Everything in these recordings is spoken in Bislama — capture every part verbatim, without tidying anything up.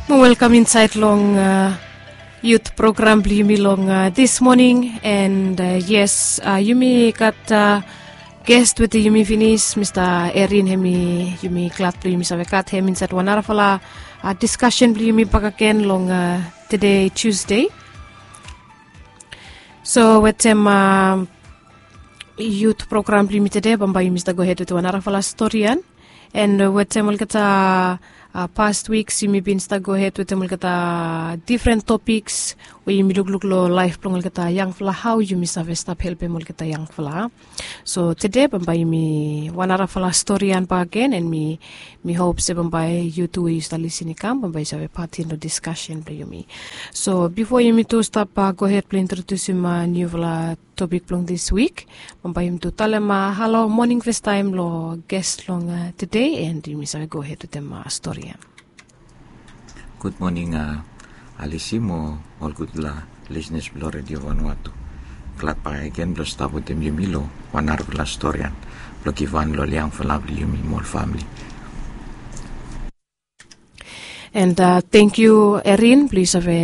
Welkam insaed long yut program blong yumi long dis moning. And yes, yumi gat ges wetem yumi finis, Mista Erin. Hem i yumi glad blong yumi save gat hem insaed wan narafala diskasen blong yumi bakegen long tede, Tusde. So wetem yut program blong yumi tede, bambae yumi stap gohed wetem wan narafala storian. And wetem olgeta past wiks yumi bin stap gohed wetem olgeta difren topiks we yumi lukluk long laef blong olgeta yangfala, hao yumi save stap helpem olgeta yangfala. So tede bambae yumi wan narafala storian bakegen, and mi mi hop se bambae yu tu we yu stap lisin i kam, bambae yu save patin long diskasen blong yumi. So bifo yumi tu stap gohed blong introdiusim niufala topik blong dis wik, bambae yumi tu talem halo, moning fastaem long ges long tede, and yumi save gohed wetem storian. Gud moning, Alisi, mo ol gudfala lisenas blong Redio Vanuatu. Glad bakegen blong stap wetem yumi long wan narafala storian blong givhan long ol yangfala blong yumi mo ol famle. And tangkiu, Erin, blong yu save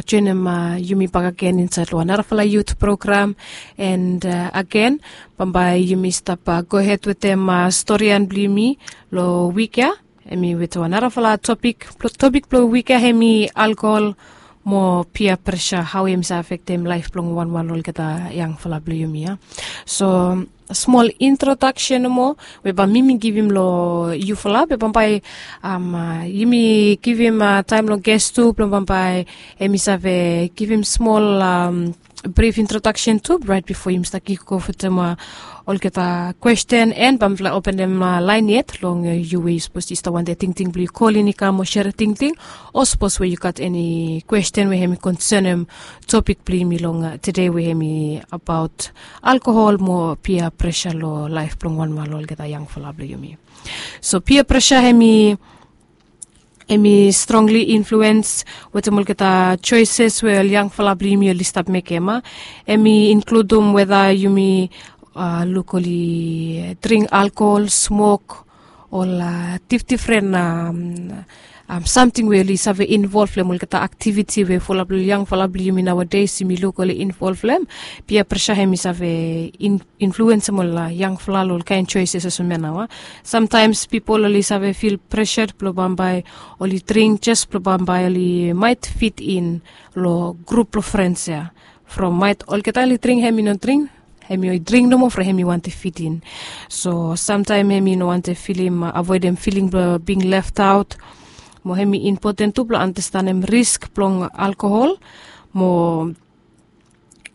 joenem yumi bakegen insaed long wan narafala yut program. And agen, bambae yumi stap gohed wetem storian blong yumi long wik ya. Hem i wetem wan narafala topik. Topik blong wik ya hem i alkohol mo pia presa, hao hem i save afektem laef blong wanwan olgeta yangfala blong yumi ya. So smol introdaksen nomo we bae mi mi givim long yufala, be bambae yumi givim taem long ges tu blong bambae hem i save givim smol brif introdaksen tu, raet bifo yumi stap kik of wetem olgeta kwesten, and bae mifala openem laen yet long yu we yu sapos yu stap wantem tingting blong yu kolin i kam o serem tingting, o sapos we yu gat eni kwesten we hem i konsenem topik blong yumi long tede, we hem i abaot alkohol mo pia presa long laef blong wanwan olgeta yangfala blong yumi. So pia presa hem i hem i strongli influens wetem olgeta joeses we ol yangfala blong yumi oli stap mekem. Hem i inkludum weta yumi luk oli dring alkohol, smok, ol difdifren samting we oli save involv long olgeta aktiviti we fulap long yangfala blong yumi naoades yumi luk oli involv long hem. Pia presa hem i save influensem ol yangfala long ol kaen joeses olsem ya nao. Samtaems pipol oli save fil presa blong bambae oli dring jes blong bambae oli maet fit in long grup blong frens ya. From maet olgeta oli dring, hem i no dring, hem i dring nomo from hem i wantem fit in. So samtaem hem i no wantem filim, avoedem filing blong bing left aot. Mo hem i impoten tu blong andastanem risk blong alkohol. Mo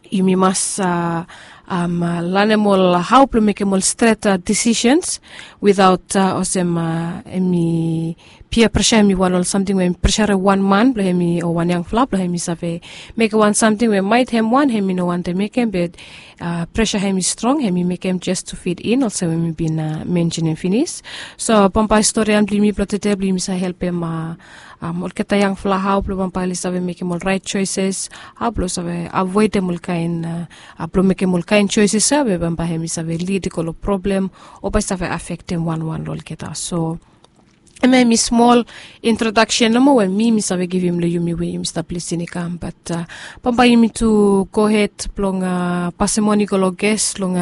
yumi mas lanem ol hao blong mekem ol stret disisens witaot olsem hem i pia presa hem i wan ol samting we hem i presarem wan man blong hem i o wan yangfala blong hem i save mekem wan samting we maet hem wan hem i no wantem mekem, be presa hem i strong, hem i mekem jes tu fit in olsem we mi bin mensenem finis. So bambae storian blong yumi blong tede blong yumi save helpem olgeta yangfala hao blong bambae oli save mekem ol raet joeses, hao blong save avoedem ol kaen blong mekem ol kaen joeses ya we bambae hem i save lid i go long problem o bae i save afektem wanwan long olgeta. So hemia hem i smol introdaksen nomo we mi mi save givim long yumi we yumi stap lisin i kam, bat bambae yumi tu gohed blong pasem on i go long ges long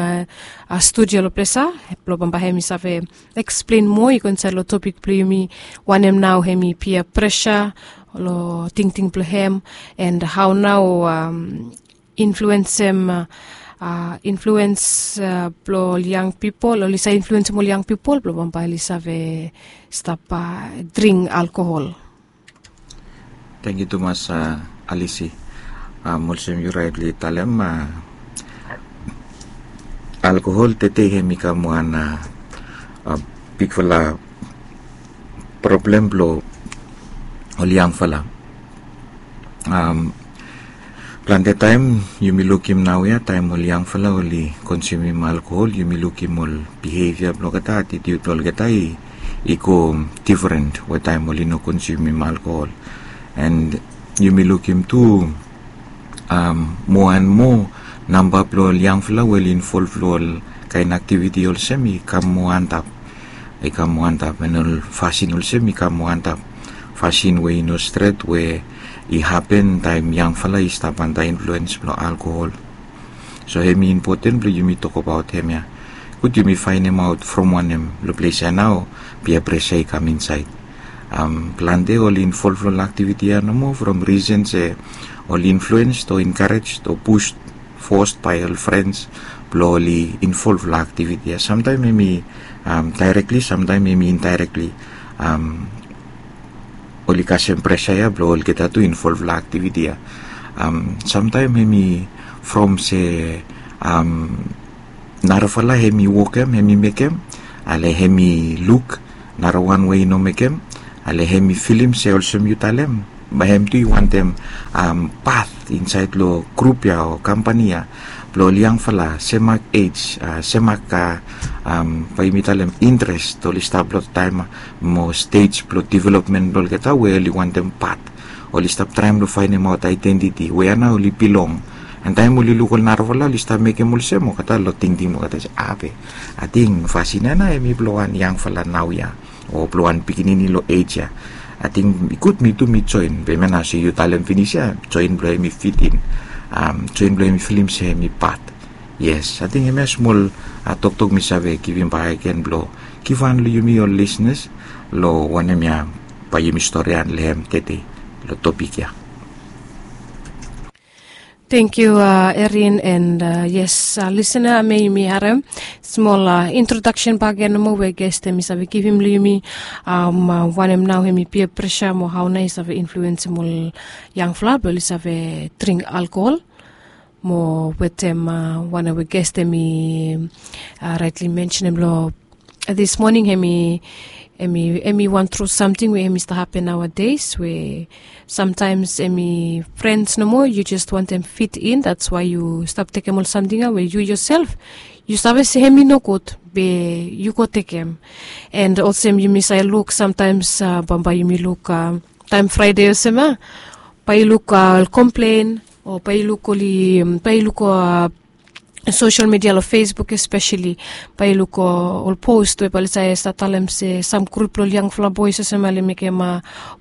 studio long ples ya, blong bambae hem i save eksplen moa i go insaed long topik blong yumi, wanem nao hem i pia presa long tingting blong hem, and hao nao influensem influens blong ol yang pipol, oli save influensem ol yang pipol blong bambae oli save stap dring alkohol. Tangkiu tumas, Alisi. Olsem yu raetli talem, alkohol tede hem i kam wan bigfala problem blong ol yangfala. Plante taem yumi lukim naoia taem ol yangfala oli konsumim alkohol, yumi lukim ol bihevia blong olgeta, atitiut blong olgeta i go difren we taem oli no konsumim alkohol. And yumi lukim tu moa and moa namba blong ol yangfala we oli involv long ol kaen aktiviti olsem i kam moa antap, i kam moa antap, and ol fasin olsem i kam moa antap. pasin we i no stret we i hapen taem yangfala i stap antap influens blong alkohol. So hem i impoten blong yumi tokbaot hem ya. Gud yumi faenemaot from wanem long ples ya nao pia presa i kam insaed. Plante oli involv long aktiviti ya nomo from risen se oli influens o enkarej o pus fos bae ol frens blong oli involv long aktiviti ya. Samtaem hem i daerekli, samtaem hem i indaerekli. Oli kasem presa ya blong olgeta tu involv long aktiviti ya. Samtaem hem i from se narafala hem i wokem, hem i mekem, ale hem i luk narawan we i no mekem, ale hem i filim se olsem yu talem, bae hem tu i wantem pat insaed long grup ya o kampani ya blong ol yangfala semak ej, semak, bae yumi talem, intres oli stap long taem mo stej blong developmen blong olgeta we oli wantem pat. Oli stap traem long faenemaot aedentiti we ya nao oli bilong. An taem oli luk ol narafala oli stap mekem olsem, olgeta long tingting olgeta se, ape, ating fasin ya nao hem i blong wan yangfala naoia o blong wan pikinini long ej ya. Ating i gud mi tu mi joen, be hemia nao se yu talem finis ya, joen blong hem i fitin, joen blong hem i filim se hem i pat. Yes, ating hemia smol toktok mi save givim bakegen blong givhan long yumi ol lisnas long wanem ya bae yumi storian long hem tede long topik ya. Thank you, Erin, and yes, listener, may yumi harem smol introduction bakegen nomo we guest hem i save givim long yumi, wanem nao hem i peer pressure mo hao nao i save influensim ol yangfala blong oli save dring alkohol. Mo wetem wanem we guest hem i raetli mensenem long this morning, hem i hem i wan tru samting we hem i stap hapen nowadays we samtaems hem i frens nomo, yu jes wantem fit in, that's why yu stap tekem ol samting ya we yu yoself yu save se hem i nogud, be yu go tekem. And olsem yumi save luk samtaems, bambae yumi luk taem Fraede olsem ya, bae yu luk ol komplen o bae yu luk oli bae yu luk ol sosel midia long Facebook espeseli, bae yu luk ol pos we bae oli save stap talem se sam grup blong ol yangfala boes olsem ya oli mekem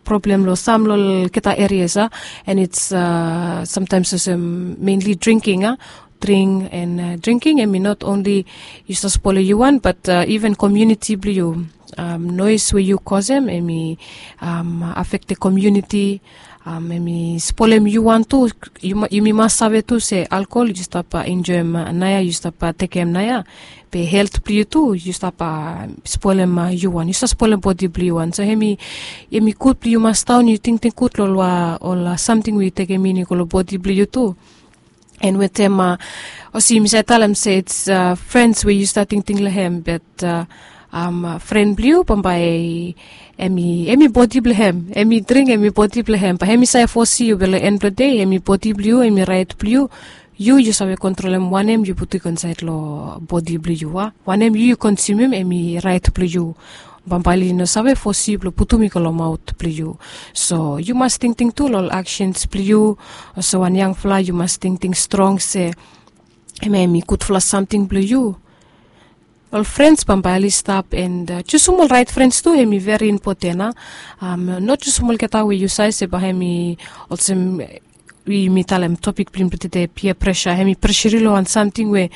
problem long sam long olgeta erias ya. And it's samtaems olsem menli drinking ya, dring and drinking hem i not onli yu stap spolem yu wan but iven komuniti blong yu. Noes we yu kosem hem i afektem komuniti. Hem i spolem yu wan tu. Yumi mas save tu se alkohol yu stap enjoem naoia, yu stap tekem naoia, be helt blong yu tu yu stap spolem yu wan, yu stap spolem bodi blong yu wan. So hem i hem i gud blong yu mas daon yu tingting gud long ol samting we yu tekem in i go long bodi blong yu tu. And wetem olsem yumi save talem se it's frens we yu stap tingting long hem, but fren blong yu bambae hem i hem i bodi blong hem, hem i dring hem i bodi blong hem, bae hem i save fosim yu be long en blong dei hem i bodi blong yu, hem i raet blong yu. Yu yu save kontrolem wanem yu putum i go insaed long bodi blong yu, a wanem yu yu konsumum hem i raet blong yu. Bambae oli no save fosim yu blong putum i go long maot blong yu. So yu mas tingting tu long ol aksens blong yu. Olsem wan yangfala yu mas tingting strong se hemia hem i gudfala samting blong yu. Ol frens bambae oli stap and jusum ol raet frens tu hem i veri impoten, a. No jusum olgeta we yu save se bae hem i olsem we yumi talem topik blong yumi blong tede, pia presa, hem i presa yu long wan samting we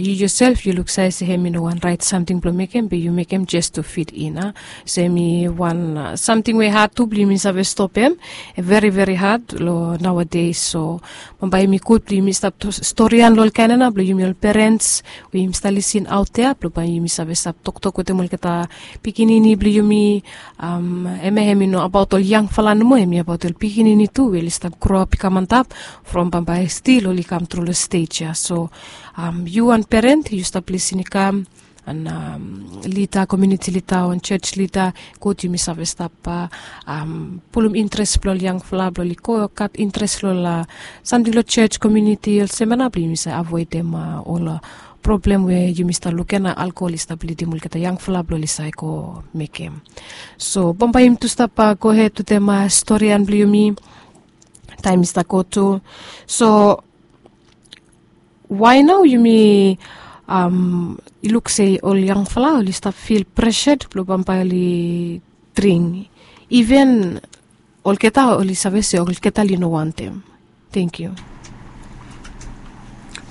yu yoself yu luksave se hem i no wan raet samting blong mekem be yu mekem jes tu fit in, a. So hem i wan samting we had tu blong yumi save stopem. Veri veri had long naoades. So bambae hem i gud blong yumi stap storian long ol kaen ya nao blong yumi ol perens we yumi stap lisin aotea blong bae yumi save stap toktok wetem olgeta pikinini blong yumi. Hemia hem i no abaot ol yangfala nomo, hem i abaot ol pikinini tu we oli stap groap i kam antap from bambae stil oli kam tru long stej ya. So yu wan peren yu stap lisin i kam, an lida, komuniti lida o wan jos lida, gud yumi save stap pulum intres blong ol yangfala blong oli go gat intres long ol samting long jos, komuniti, olsem ya nao blong yumi save avoedem ol problem we yumi stap luk ya nao alkohol i stap lidim olgeta yangfala blong oli save go mekem. So bambae yumi tu stap gohed wetem storian blong yumi. Taem i stap go tu. So wae nao yumi luk se ol yangfala oli stap fil presed blong bambae oli dring? Iven olgeta oli save se olgeta oli no wantem. Tengkiu.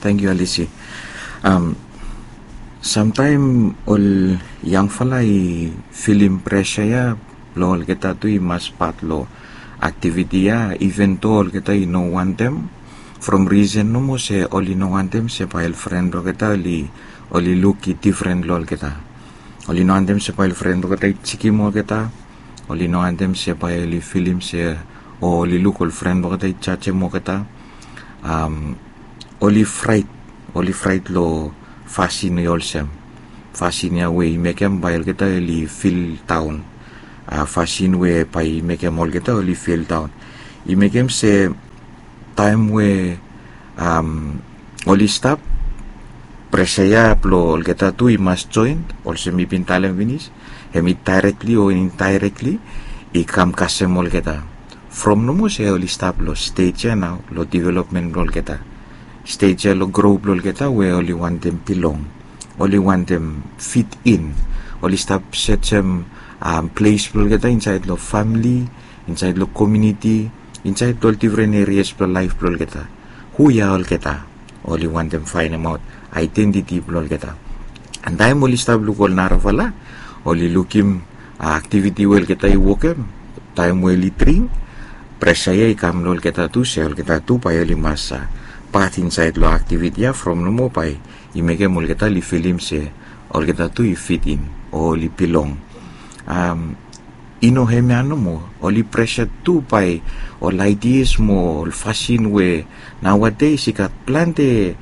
Tengkiu, Alisi. Samtaem ol yangfala i filim presa ya blong olgeta tu i mas pat long aktiviti ya, iven do olgeta i no wantem. From risen nomo se oli no wantem se bae ol fren blong olgeta oli luk i difren long olgeta. Oli no wantem se bae ol fren blong olgeta i jikim olgeta. Oli no wantem se bae oli filim se o oli luk ol fren blong olgeta i jajem olgeta. Oli fraet, oli fraet long fasin i olsem, fasin ya we i mekem bae olgeta oli fildaon. Fasin we bae i mekem olgeta oli fildaon. I mekem se taem we oli stap, presa ya blong olgeta tu i mas joen, olsem mi bin talem finis, hemi daerekli o indaerekli i kam kasem olgeta. From nomo se oli stap long stej ya nao long developmen blong olgeta, stej ya long gro blong olgeta we oli wantem bilong, oli wantem fit in. Oli stap sejem ples blong olgeta insaed long famili, insaed long komuniti, insaed long ol difren erias blong laef blong olgeta. Hu ya olgeta? Oli wantem faenemaot aedentiti blong olgeta. An taem oli stap luk ol narafala, oli lukim aktiviti we olgeta i wokem, taem we oli dring, presa ya i kam long olgeta tu se olgeta tu bae oli mas pat insaed long aktiviti ya from nomo bae i mekem olgeta oli filim se olgeta tu i fit in o oli bilong. I no hemia nomo, oli presa tu bae ol aidias mo ol fasin we naoades i gat plante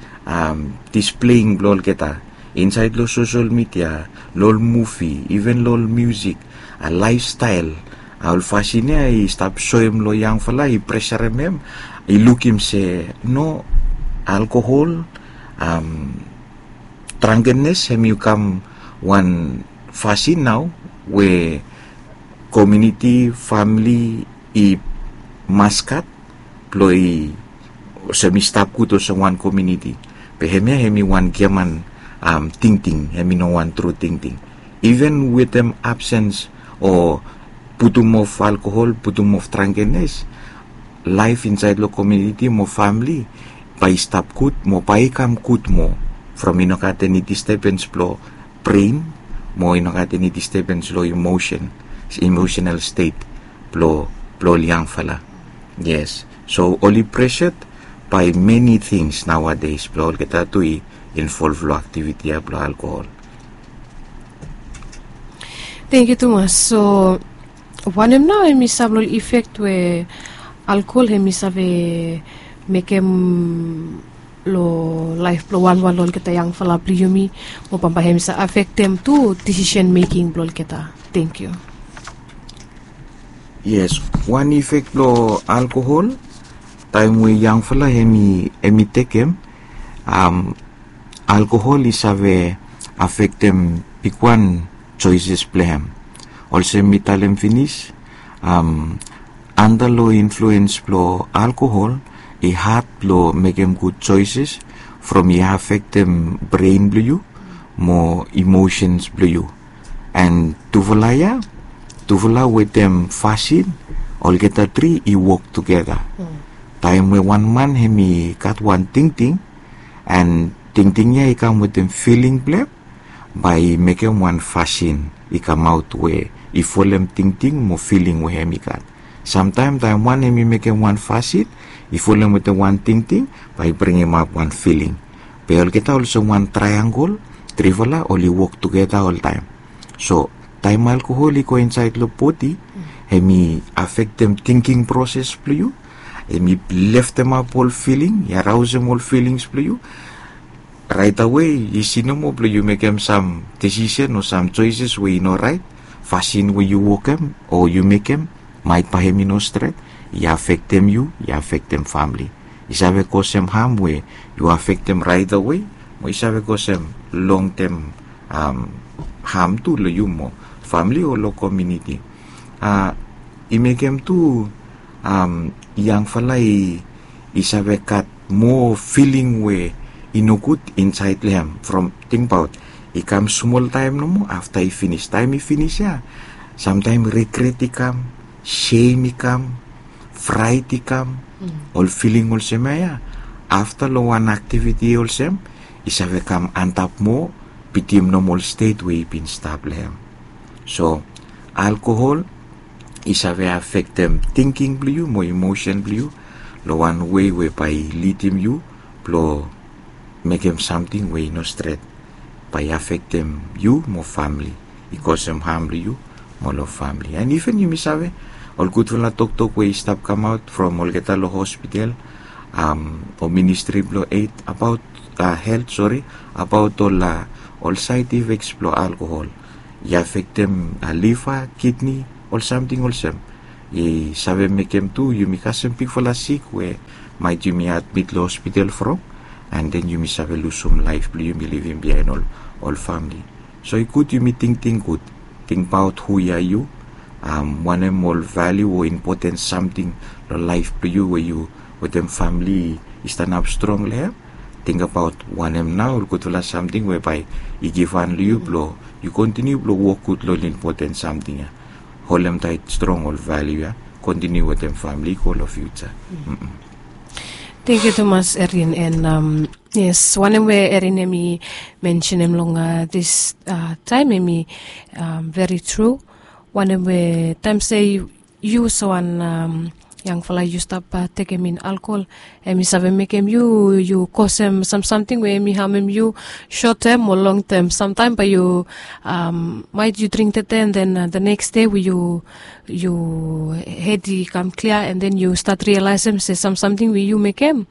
displeing blong olgeta insaed long sosel midia, long ol muvi, iven long ol miusik, laefstael, ol fasin ya i stap soem long yangfala, i presarem hem i lukim se no, alkohol, trankenes hemi kam wan fasin nao we komuniti, famili i mas gat blong i olsem i stap gud olsem wan komuniti. Be hemia hemi wan giaman tingting, hemi no wan tru tingting. Iven wetem absens o putum of alkohol, putum of trankenes, laef insaed long komuniti mo famili bae i stap gud mo bae i kam gud moa from i no gat eni distebens blong bren mo i no gat eni distebens long emosen, emosenal stet blong ol yangfala. Yes, so oli presad bae meni tings naoades blong olgeta tu i involv long aktiviti ya blong alkohol. Tengkiu tumas. So wanem nao hemi sam long ol ifek we alkohol hemi save mekem long laef blong wanwan long olgeta yangfala blong yumi, mo bambae hemi save afektem tu disisen meking blong olgeta? Tengkiu. Yes, wan ifek blong alkohol taem we yangfala hemi tekem, alkohol i save afektem bigwan joeses blong hem. Olsem mi talem finis, anda long influens blong alkohol i had blong mekem gud joeses from i afektem bren blong yu mo emosens blong yu. An tufala ya, tufala wetem fasin, olgeta tri i wok tugeta. Taem we wan man hemi gat wan tingting, an tingting ya i kam wetem filing blong hem, bae i mekem wan fasin i kamaot we i folem tingting mo filing we hemi gat. Samtaem taem wan hemi mekem wan fasin i folem wetem wan tingting, bae i bringimap wan filing. Be olgeta olsem wan traeangol, trifala oli wok tugeta oltaem. So taem alkohol i go insaed long bodi, hemi afektem tingting proses blong yu, hemi leftemap ol filing, i araosem ol filings blong yu. Raetawe isi nomo blong yu mekem sam disisen o sam joeses we i no raet. Fasin we yu wokem o yu mekem, maet bae hemi no stret, i afektem yu, i afektem famili. I save kosem ham we yu afektem raetawe, mo i save kosem longtem ham tu long yu mo famili o long komuniti. I mekem tu yangfala i save gat moa filing we i nogud insaed long hem. From tingbaot, i kam smol taem nomo, afta i finis. Taem i finis ya, samtaem rigret i kam, sem i kam, fraet i kam, ol filing olsem ya ya, afta long wan aktiviti olsem i save kam antap moa bitim nomol stet we i bin stap long hem. So alkohol i save afektem tingking blong yu mo emosen blong yu long wan wei we bae i lidim yu blong mekem samting we i no stret, bae i afektem yu mo famili, i kosem ham long yu mo long famili. And iven yumi save ol gudfala toktok we i stap kamaot from olgeta long hospital o ministri blong ed abaot helt, sori, abaot ol ol saed ifeks blong alkohol. I afektem liva, kidni, ol samting olsem. I save mekem tu yumi kasem bigfala sik we maet yumi admit long hospital from, and then yumi save lusum laef blong yumi, livim biaen ol ol famili. So i gud yumi tingting gud, tingbaot hu ya yu, wanem ol valiu o impoten samting long laef blong yu we yu wetem famili i stanap strong long hem. Tingbaot wanem nao ol gudfala samting we bae i givhan long yu blong yu kontiniu blong wok gud long ol impoten samting ya. Holem taet strong ol valiu ya, kontiniu wetem famili i go long fiuja. Tangkiu tumas Erin. And yes, wanem we Erin hem i mensenem long dis taem hem i veri tru. Wanem we taem se yu sawan yangfala yu stap tekem in alkohol, hem i save mekem yu yu kosem sam samting we hem i hamem yu. Sotem o longtem samtaem bae yu maet yu dring tete and then the neks dei we yu yu hed i kam klia and then yu stat rialaesem se sam samting we yu mekem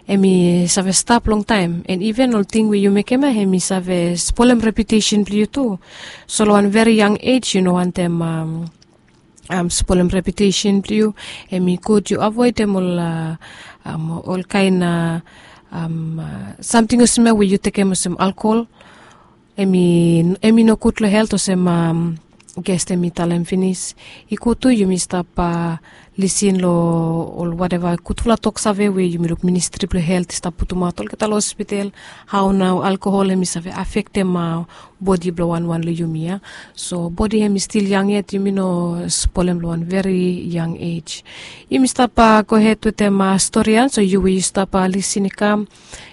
hem i save stap longtaem, and iven ol ting we yu mekem ya hem i save spolem reputesen blong yu tu. So long wan veri yang ej yu no wantem spolem reputesen blong yu. Hem i gud yu avoedem ol ol kaen samting olsem ya we yu tekem olsem alkohol. Hem i hem i nogud long helt olsem ges hem i talem finis. I gud tu yumi stap lisin long ol wateva gudfala toksave we yumi luk ministri blong helt i stap putumaot olgeta long hospital, hao nao alkohol hem i save afektem bodi blong wanwan long yumi ya. So bodi hem i stil yang yet, yumi no spolem long wan veri yang ej. Yumi stap gohed wetem stori ya. So yu we yu stap lisin i kam,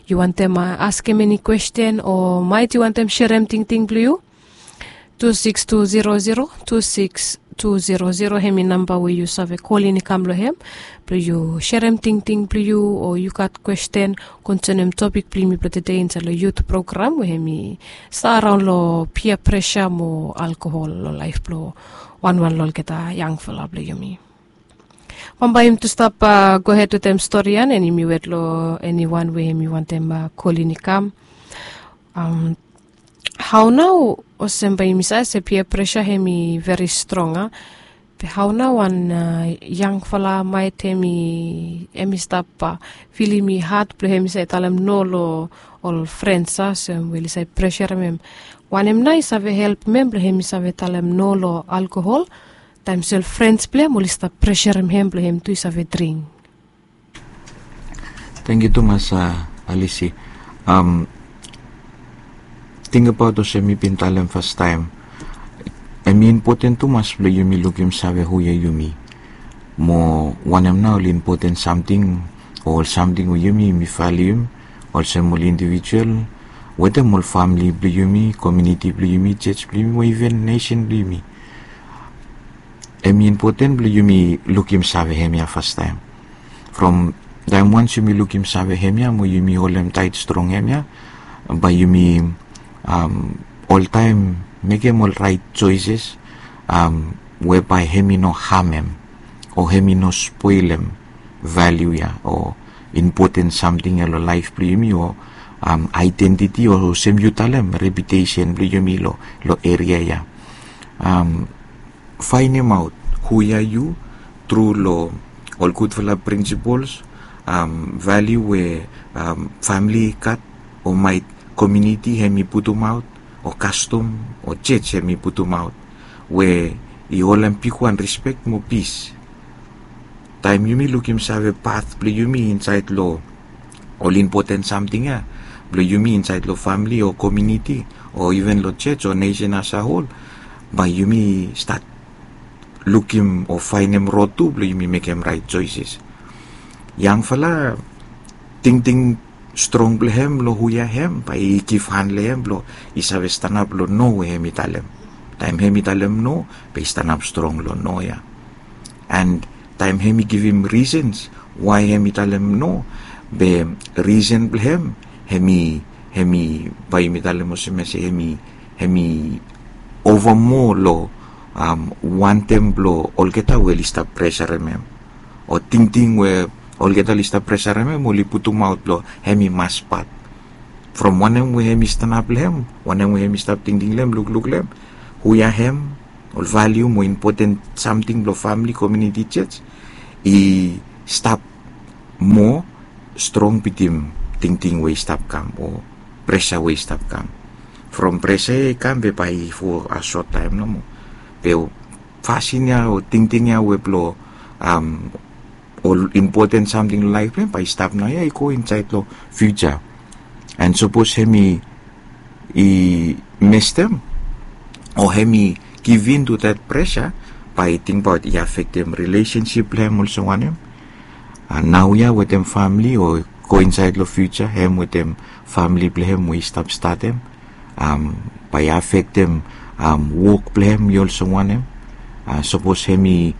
yu wantem askem eni kwesten o maet yu wantem serem tingting blong yu, tu siks tu zero zero tu siks tu zero zero hem i namba we yu save kolin i kam long hem blong yu serem tingting blong yu o yu gat kwesten konsenem topik blong yumi blong tede insaed long yut program we hem i saraon long pia presa mo alkohol long laef blong wanwan long olgeta yangfala blong yumi. Bambae yumi tu stap gohed wetem stori ya and yumi wet long eniwan we hem i wantem kolin i kam. Hao nao olsem bae yumi save se pia presa hem i veri strong a, be hao nao wan yangfala maet hem i hem i stap filim i had blong hem i save talem no long ol frens a olsem we oli save presarem hem? Wanem nao i save helpem hem blong hem i save talem no long alkohol taem se ol frens blong hem oli stap presarem hem blong hem tu i save dring? Tangkiu tumas Alisi. Tingbaot olsem mi bin talem fastaem, hem i impoten tumas blong yumi lukim save hu ya yumi mo wanem nao ol impoten samting o ol samting we yumi yumi valium olsem ol indivijual wetem ol famili blong yumi, komiuniti blong yumi, joj blong yumi o iven nesen blong yumi. Hem i impoten blong yumi lukim save hemia fastaem. From taem wans yumi lukim save hemia mo yumi holem taet strong hemia, bae yumi oltaem mekem ol raet joeses we bae hem i no hamem o hem i no spolem valiu ya o impoten samting ya long laef blong yumi o aedentiti o olsem yu talem reputesen blong yumi long eria ya. Faenemaot hu ya yu tru long ol gudfala prinsipols, valiu we famili i gat o maet komiuniti hem i putumaot o kastom o joj hem i putumaot we i holem bigwan rispek mo pis. Taem yumi lukim save pat blong yumi insaed long ol impoten samting ya blong yumi insaed long famili o komiuniti o iven long joj o nesen as a hol, bae yumi stat lukim o faenem rod tu blong yumi mekem raet soeses. Yangfala, tingting strong blong hem long hu ya hem bae i givhan long hem blong i save stanap long no we hem i talem. Taem hem i talem no, bae i stanap strong long no ya. And taem hem i givim risens wae hem i talem no, be risen blong hem, hem i hem i bae yumi talem olsem ya se hem i hem i ova moa long wantem blong olgeta we oli stap presarem hem, o tingting we olgeta oli stap presarem hem oli putumaot blong hem i mas pat. From wanem we hem i stanap long hem, wanem we hem i stap tingting long hem, lukluk long hem, hu ya hem, ol valiu mo impoten samting blong famili, komiuniti, jos i stap moa strong bitim tingting we i stap kam o presa we i stap kam. From presa ya i kam be bae i fo a sot taem nomo. Be fasin ya o tingting ya we blong ol impoten samting long laef blong hem bae i stap naoia i go insaed long fiuja. And sapos hem i i mestem o hem i givin tu dat presa, bae i tingbaot i afektem rilesensip blong hem olsem wanem. Naoia wetem famili o go insaed long fiuja hem wetem famili blong hem we i stap statem, bae i afektem wok blong hem i olsem wanem. Sapos hem i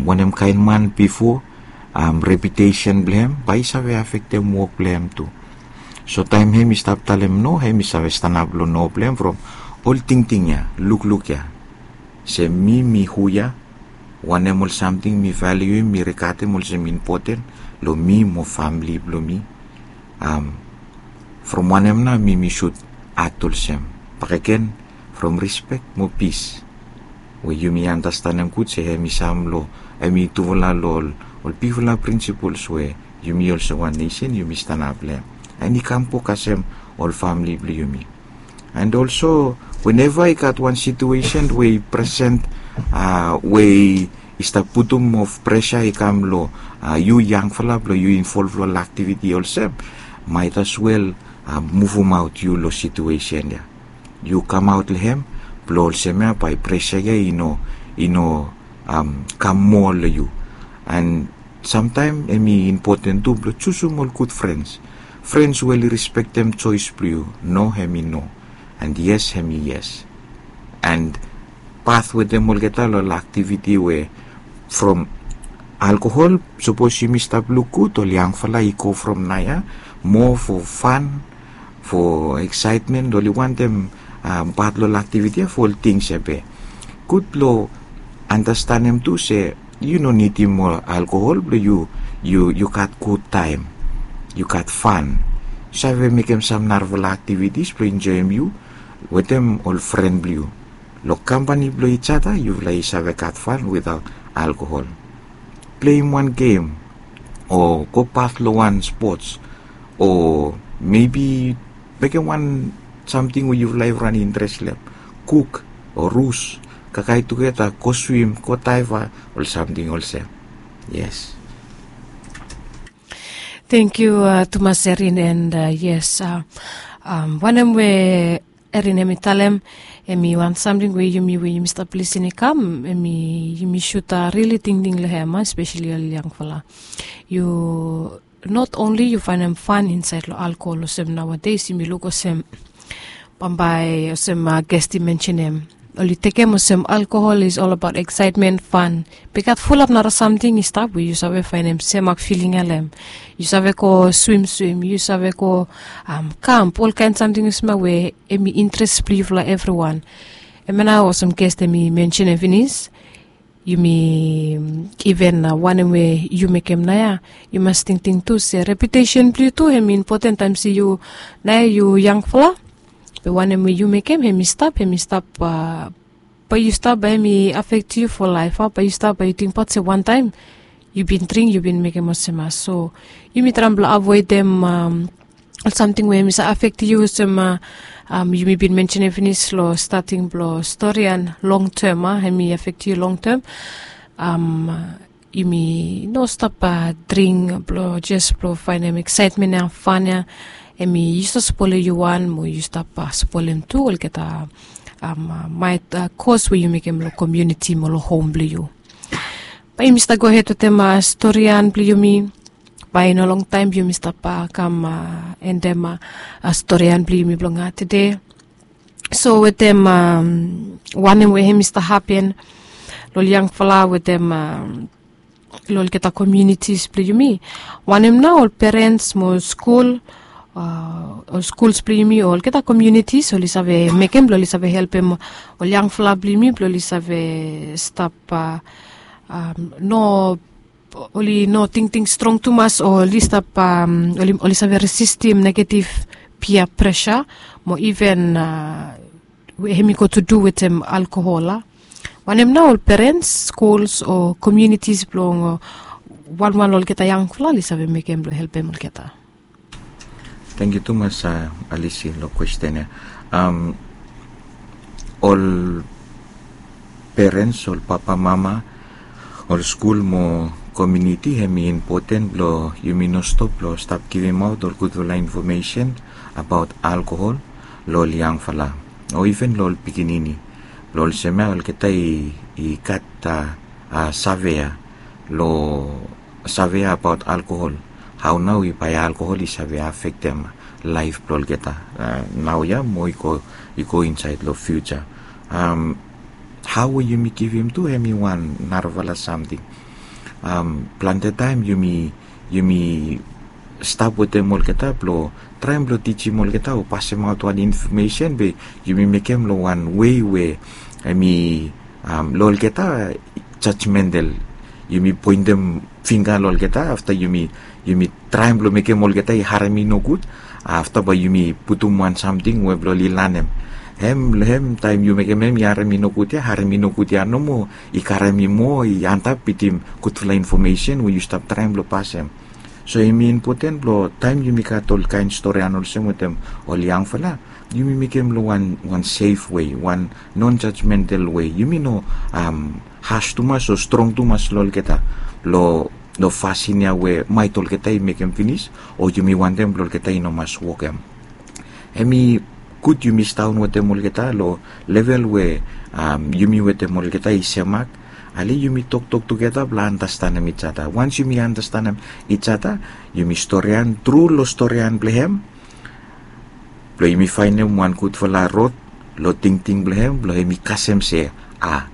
wanem kaen man bifo, reputesen blong hem bae i save afektem wok blong hem tu. So taem hem i stap talem no, hem i save stanap long no blong hem from ol tingting ya, lukluk ya, se mi mi hu ya, wanem ol samting mi valiuim, mi rigadem olsem impoten long mi mo famili blong mi. From wanem nao mi mi sud at olsem? Bakegen, from rispek mo pis we yumi anastanem gud se hem i sam long, hem i tufala long ol bigfala prinsipols we yumi olsem wan nesen yumi stanap long hem, and i kam wok kasem ol famili blong yumi. And olso, weneva i gat wan situesen we i presen we i stap putum of presa i kam long yu yangfala blong yu involv long ol aktiviti olsem, maet as wel muvumaot yu long situesen ya. Yu kamaot long hem blong olsem ya bae presa ya i no i no kam moa long yu. And samtaem hem i impoten tu blong jusum ol gud frens, frens we oli rispektem joes blong yu. No, hem i no. And yes, hem i yes. And pat wetem olgeta long ol aktiviti we from alkohol, sapos yumi stap luk gud ol yangfala i go from naoia moa fo fan, fo eksaetmen, oli wantem pat long ol aktiviti ya fo ol tings ya be gud blong anastanem tu se yu no nidim moa alkohol blong yu yu yu gat gud taem, yu gat fan, yu save mekem sam narafala aktivitis blong enjoem yu wetem ol fren blong yu. Long kampani blong ijada yufala i save gat fan witaot alkohol. Pleim wan gem o go pat long wan spots o mebi mekem wan samting we yufala i ran interes long hem, kuk o rus, kakae tugeta, go swim, go daeva, ol samting olsem. Yes. Thank you tumas Erin, and yes, wanem we Erin hem i talem, hem i wan samting we yumi we yumi stap lisin i kam hem i yumi sud rili tingting long hem, espeseli ol yangfala. Yu not only yu faenem fan insaed long alkohol olsem naoades yumi luk olsem bambae olsem gest i mensenem, oli tekem olsem alkohol is ol abaot eksaetmen, fan. Be i gat fulap nara samting i stap we yu save faenem semak filing ya long hem. Yu save go swimswim, yu save go kamp, olkaen samting olsem ya we hem i interes blong yufala evriwan. Hemia nao olsem gest hem i mensenem finis, yumi iven wanem we yu mekem naoia, yu mas tingting tu se reputesen blong yu tu hem i impoten taem se yu naoia yu yangfala. Be wanem we yu mekem hem i stap hem i stap bae yu stap bae hem i afektem yu fo laef a bae yu stap bae yu tingbaot se wantaem yu bin dring yu bin mekem olsem ya. So yumi traem blong avoedem ol samting we hem i save afektem yu olsem yumi bin mensenem finis long stating blong stori, and long tem a hem i afektem yu long tem. Yumi no stap dring blong jes blong faenem eksaetmen ya, fan ya. Hem i yu stap spolem yu wan mo yu stap spolem tu olgeta maet kos we yu mekem long komiuniti mo long hom blong yu. Bae yumi stap gohed wetem storian blong yumi. Bae i no longtaem yumi stap kam endem storian blong yumi blong tede. So wetem wanem we hem i stap hapen long ol yangfala wetem long olgeta komiunitis blong yumi. Wanem nao ol perens mo skul, ol skuls blong yumi o olgeta komiunitis oli save mekem blong oli save helpem ol yangfala blong yumi blong oli save stap no, oli no tingting strong tumas o oli stap, oli save resistim negetiv pia presa mo iven we hem i go tu du wetem alkohol a? Wanem nao ol perens, skuls o komiunitis blong wanwan long olgeta yangfala oli save mekem blong helpem olgeta? Tangkiu tumas, alisi, long kwesten ya. Ol perens, ol papa mama, ol skul mo komiuniti hem i impoten blong yumi no stop blong stap givimaot ol gudfala infomesen abaot alkohol long ol yangfala o iven long ol pikinini blong olsem ya olgeta i gat save ya long save ya abaot alkohol. Hao nao i bae alkohol i save afektem laef blong olgeta naoia mo i go insaed long fiuja. Hao we yumi givim tu hem i wan narafala samting. Plante taem yumi yumi stap wetem olgeta blong traem blong tijim olgeta o pasemaot wan infomesen be yumi mekem long wan wei we hem i long olgeta jajmental. Yumi poentem fingga long olgeta afta yumi yumi traem blong mekem olgeta i harem i nogud. Afta bae yumi putum wan samting we blong oli lanem hem long hem taem yu mekem hem i harem i nogud ya harem i nogud ya nomo i karem i moa i antap bitim gudfala infomesen we yu stap traem blong pasem. So hem i impoten blong taem yumi gat ol kaen storian olsem wetem ol yangfala yumi mekem long wan wan sef wei wan non jajmental wei yumi no has tumas o strong tumas long olgeta long long fasin ya we maet olgeta i mekem finis o yumi wantem blong olgeta i no mas wokem. Hem i gud yumi staon wetem olgeta long level we yumi wetem olgeta i semak. Ale yumi toktok tugeta blong anastanem ijata wans yumi anastanem ijata yumi storian tru long storian blong hem blong yumi faenem wan gudfala rod long tingting blong hem blong hem i kasem se a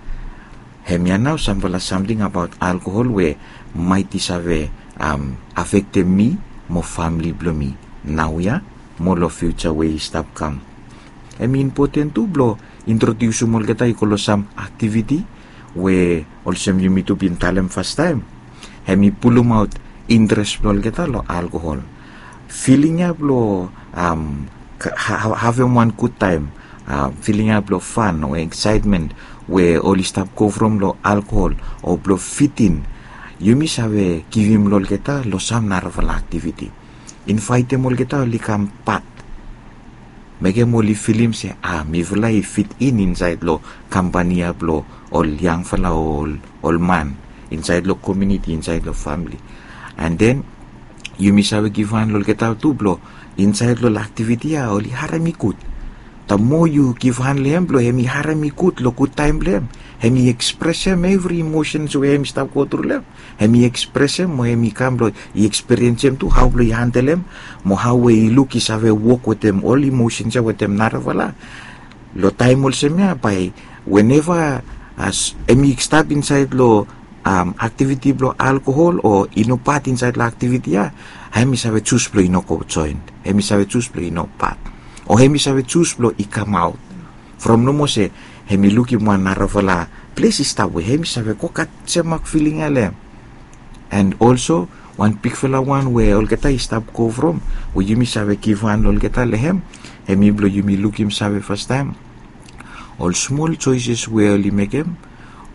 hemia nao samfala samting abaot alkohol we maet i save afektem mi mo famili blong mi naoia mo long fiuja we i stap kam. Hem i impoten tu blong introdiusim olgeta i go long sam aktiviti we olsem yumi tu bin talem fastaem hem i pulumaot interes blong olgeta long alkohol. Filing ya blong havem wan gudtaem, filing ya blong fan o eksaetmen we oli stap go from long alkohol o blong fitin yumi save givim long olgeta long sam narafala aktiviti. Invaetem olgeta oli kam pat mekem oli filim se a mifala i fit in insaed long kampani ya blong ol yangfala o ol man insaed long komiuniti insaed long famili. An den yumi save givhan long olgeta tu blong insaed long ol aktiviti ya oli harem i gud. Taem moa yu givhan long hem blong hem i harem i gud long gudtaem blong hem hem i ekspresem evri imosens we hem i stap gotru long hem hem i ekspresem mo hem i kam blong i ekspiriensem tu hao blong i handelem mo hao we i luk i save wok wetem ol imosens ya wetem narafala. Long taem olsem ya bae weneva as hem i stap insaed long aktiviti blong alkohol o i no pat insaed long aktiviti ya hem i save jus blong i no go joen, hem i save jus blong i no pat o hem i save jus blong i kamaot. From nomo se hem i lukim wan narafala ples i stap we hem i save go gat semak filing ya long hem. An olso wan bigfala wan we olgeta i stap go from we yumi save givhan long olgeta long hem hem i blong yumi lukim save fastaem ol smol joeses we oli mekem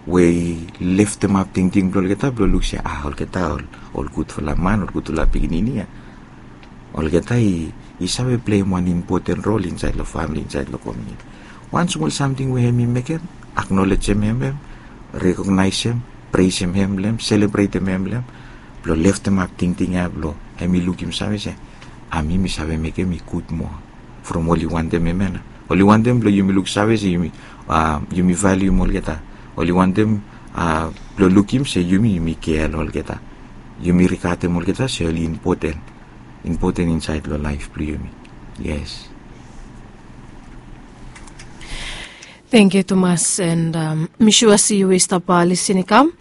we i leftemap tingting blong olgeta blong luk se a olgeta ol gudfala man ol gudfala pikinini ya olgeta i save pleim wan impoten rol insaed long famili insaed long komiuniti. Wan smol samting we hem i mekem aknolejem hem hem rekognaesem presem hem long hem selebretem hem long hem blong leftemap tingting ya blong hem i lukim save se a mi mi save mekem i gud moa from oli wantem hem ya na Oli wantem blong yumi luksave se yumi, a, yumi valium olgeta. Oli wantem, a, blong lukim se yumi, yumi kea long olgeta. Yumi rigatem olgeta se oli impoten, impoten insaed long laef blong yumi. Yes. Tangkiu tumas, and mi sua se yu we i stap lisin i kam.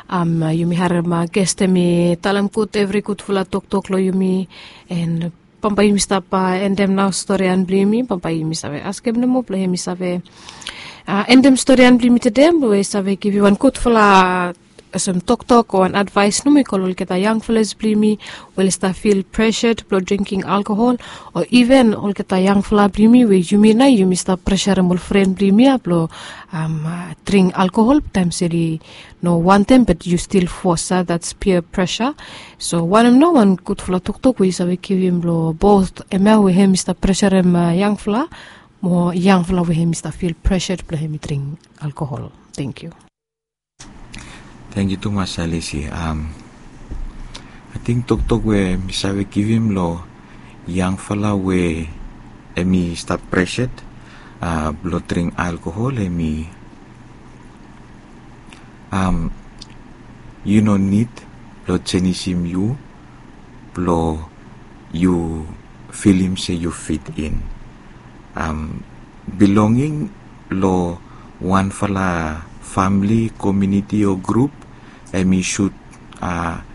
Yumi harem ges hemi talem gud evri gudfala toktok long yumi, and bambae yumi stap endem nao storian blong yumi. Bambae yumi save askem nomo blong hemi save endem storian blong yumi tede, we i save givim wan gudfala olsem toktok o wan advaes nomo i go long olgeta yangfalas blong yumi we oli stap fil pressured blong drinking alkohol, o iven olgeta yangfala blong yumi we yumi nao yumi stap presarem ol fren blong yumi ia blong dring alkohol taem se oli no wantem, but yu stil fos ia, that's peer pressure. So wanem nao wan gudfala toktok we yu save givim long both hemia we hemi stap presarem yangfala mo yangfala we hemi stap fil pressured blong hemi dring alkohol? Tangkiu. Tangkiu tumas Alisi. Ating toktok we mi save givim long yangfala we hemi stap pressured blong dring alkohol hemi, yu no nid blong jenisim yu blong yu filim se yu fit in. Bilonging long wanfala famili, komuniti o grup, hemi sud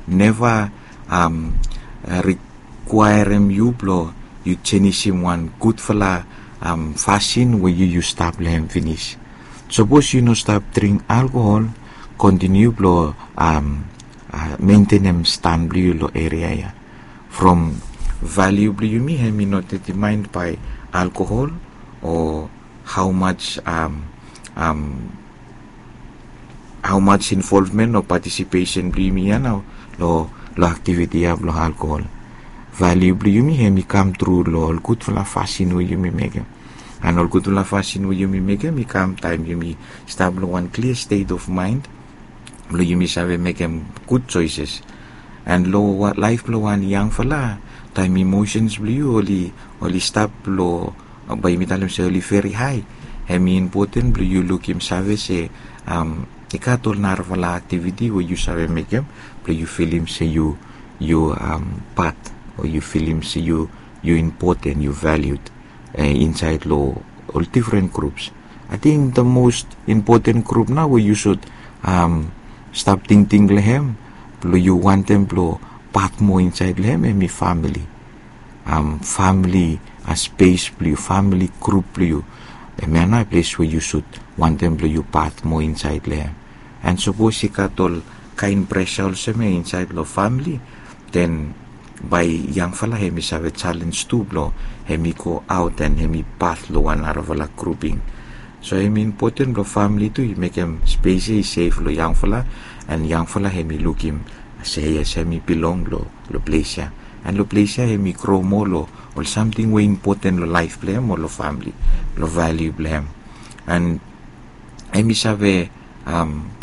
neva rikwaerem yu blong yu jenisim wan gudfala fasin we yu yu stap long hem finis. Sapos yu no stap dring alkohol, kontiniu blong mentenem stan blong yu long eria ia. From valiu blong yumi hemi no determaen bae alkohol o hao maj, hao maj involvmen o patisipesen blong yumi ia nao long aktiviti ia blong alkohol. Valiu blong yumi hemi kam tru long ol gudfala fasin we yumi mekem. An ol gudfala fasin we yumi mekem i kam taem yumi stap long wan klia stet of maend blong yumi save mekem gud joeses. An long laef blong wan yangfala, taem imosens blong yu oli, oli stap long, bae yumi talem se oli veri hae, hemi impoten blong yu lukim save se i gat ol narafala aktiviti we yu save mekem blong yu filim se yu, yu pat, o yu filim se yu, yu impoten, yu valiud insaed long ol difren grups. Ating the most impoten grup nao we yu sud stap tingting long hem blong yu wantem blong pat moa insaed long hem, hemi famili. Famili spes blong yu, famili grup blong yu, hemia nao ples we yu sud wantem blong yu pat moa insaed long hem. An sapos i gat ol kaen presa olsem ia insaed long famili, den bae yangfala hemi save jalenj tu blong hemi go aot an hemi pat long wan narafala gruping. So hemi impoten blong famili tu i mekem spes ia i sef long yangfala, an yangfala hemi lukim se yes, hemi bilong long, long ples ia. An long ples ia hemi gro moa long ol samting we impoten long laef blong hem o long famili, long valiu blong hem. An hemi save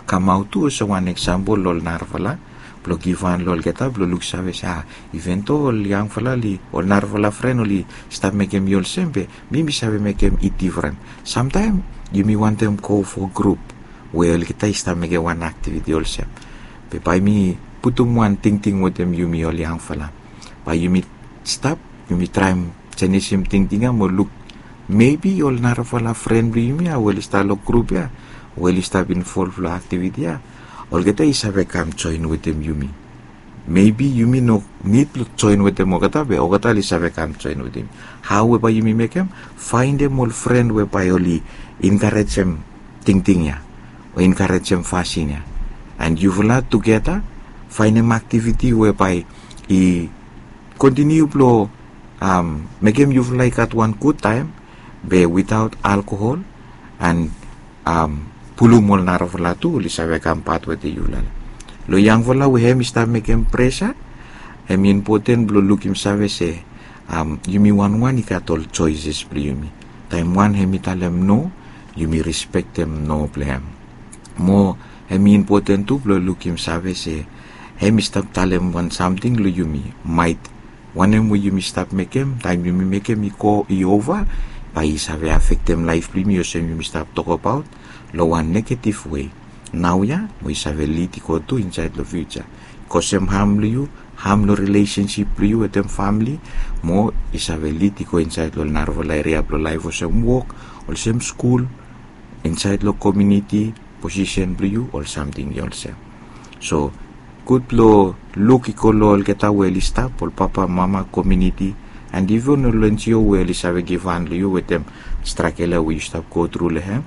kamaot tu olsem wan eksampol long ol narafala blong givhan long olgeta blong luksave se, a, iven do ol yangfala oli, ol narafala fren oli stap mekem i olsem, be mi mi save mekem i difren. Samtaem yumi wantem go fo grup we olgeta i stap mekem wan aktiviti olsem. Be bae mi putum wan tingting wetem yumi ol yangfala. Bae yumi stap, yumi traem jenisim tingting ia mo luk, mebi ol narafala fren blong yumi ia we oli stap long grup ia, we oli stap involv long aktiviti ia, olgeta i save kam joen wetem yumi. Mebi yumi no nid blong joen wetem olgeta, be olgeta oli save kam joen wetem. Hao we bae yumi mekem? Faendem ol fren we bae oli enkarejem tingting ia o enkarejem fasin ia. An yufala tugeta faenem aktiviti we bae i kontiniu blong mekem yufala i gat wan gud taem, be witaot alkohol, an pulum ol narafala tu oli save kam pat wetem yufala. Long yangfala we hem i stap mekem presa, hem i impoten blong lukim save se yumi wanwan i gat ol joeses blong yumi. Taem wan hem i talem no, yumi respektem no blong hem. Mo hem i impoten tu blong lukim save se hem i stap talem wan samting long yumi, maet wanem we yumi stap mekem, taem yumi mekem i go i ova, bae i save afektem laef blong yumi olsem yumi stap tokbaot long wan negative way naoia, mo i save lid i go tu insaed long fiuja. I kosem ham long yu, ham long rilesensip blong yu wetem famili, mo i save lid i go insaed long narafala eria blong laef olsem wok, olsem skul, insaed long komuniti, posisen blong yu, ol samting i olsem. So gud blong luk i go long olgeta we oli stap, ol papa, mama, komuniti, and iven ol NGO we oli save givhan long yu wetem stragel ya we yu stap go tru long hem,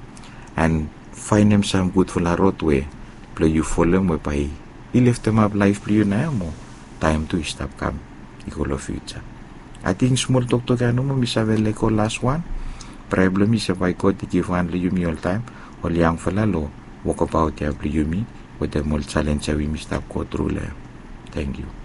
and faenem sam gudfala rod we blong yu folem we bae i leftemap laef blong yu naoia mo taem tu i stap kam i go long fiuja. Ating smol toktok ya nomo mi save lego las wan. Praea blong mi se bae God i givhan long yumi oltaem ol yangfala long wokbaot ya blong yumi wetem ol jalenj ya we yumi stap go tru long hem. Tangkiu.